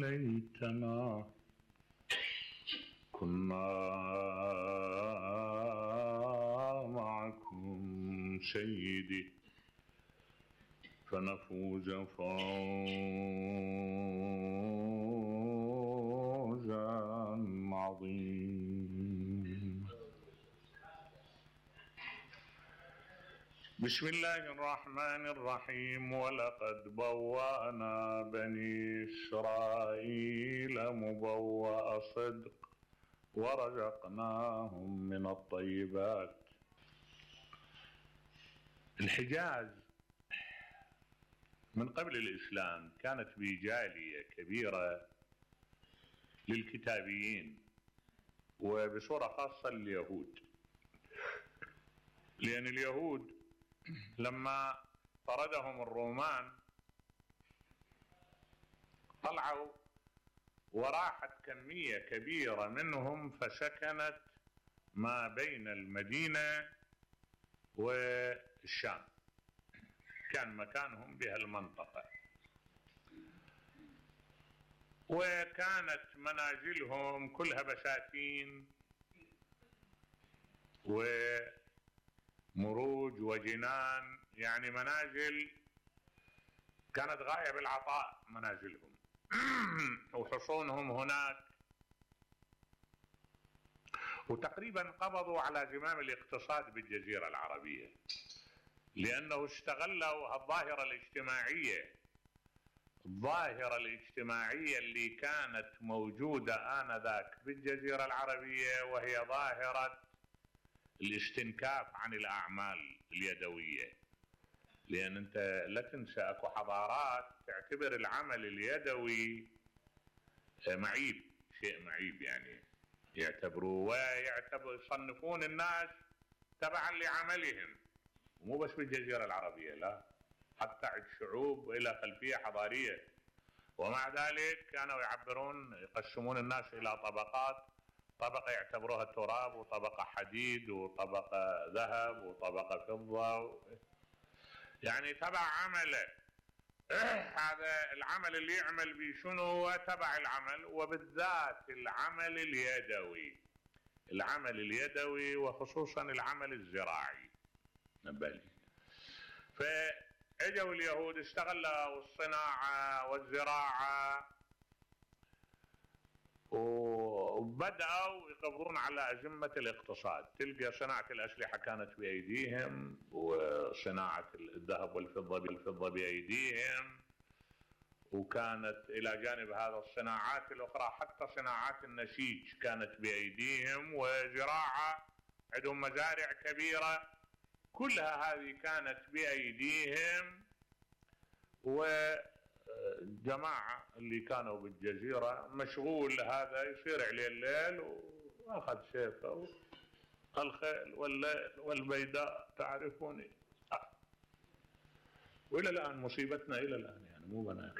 ليتنا كنا معكم سيدي فنفوز فوزا عظيما. بسم الله الرحمن الرحيم. ولقد بوأنا بني إسرائيل مبوأ صدق ورزقناهم من الطيبات. الحجاز من قبل الإسلام كانت بجالية كبيرة للكتابيين وبصورة خاصة اليهود، لأن اليهود لما طردهم الرومان طلعوا وراحت كمية كبيرة منهم فسكنت ما بين المدينة والشام، كان مكانهم بهالمنطقة، وكانت منازلهم كلها بساتين ومروج وجنان، يعني منازل كانت غاية بالعطاء منازلهم وحصونهم هناك، وتقريبا قبضوا على زمام الاقتصاد بالجزيرة العربية، لأنه استغلوا الظاهرة الاجتماعية اللي كانت موجودة آنذاك بالجزيرة العربية، وهي ظاهرة الاستنكاف عن الأعمال اليدوية. لأن أنت لا تنسى أكو حضارات تعتبر العمل اليدوي معيب، شيء معيب، يعني يعتبروه يصنفون الناس تبعا لعملهم، ومو بس بالجزيرة العربية، لا، حتى عند شعوب إلى خلفية حضارية، ومع ذلك كانوا يقسمون الناس إلى طبقات، طبقة يعتبروها تراب، وطبقة حديد، وطبقة ذهب، وطبقة فضة، يعني تبع عمله. هذا العمل اللي يعمل به شنو هو تبع العمل، وبالذات العمل اليدوي وخصوصا العمل الزراعي نبالي. فاجوا اليهود استغلوا الصناعة والزراعة وبدأوا يقبضون على أزمة الاقتصاد. تلقى صناعة الأسلحة كانت بأيديهم، وصناعة الذهب والفضة بأيديهم، وكانت إلى جانب هذا الصناعات الأخرى حتى صناعات النسيج كانت بأيديهم، وزراعة عندهم مزارع كبيرة، كلها هذه كانت بأيديهم. وجماعة اللي كانوا بالجزيرة مشغول هذا يصير عليه الليل وأخذ سيفه الخيل والليل والبيداء تعرفوني. وإلى الآن مصيبتنا إلى الآن، يعني مو بناك.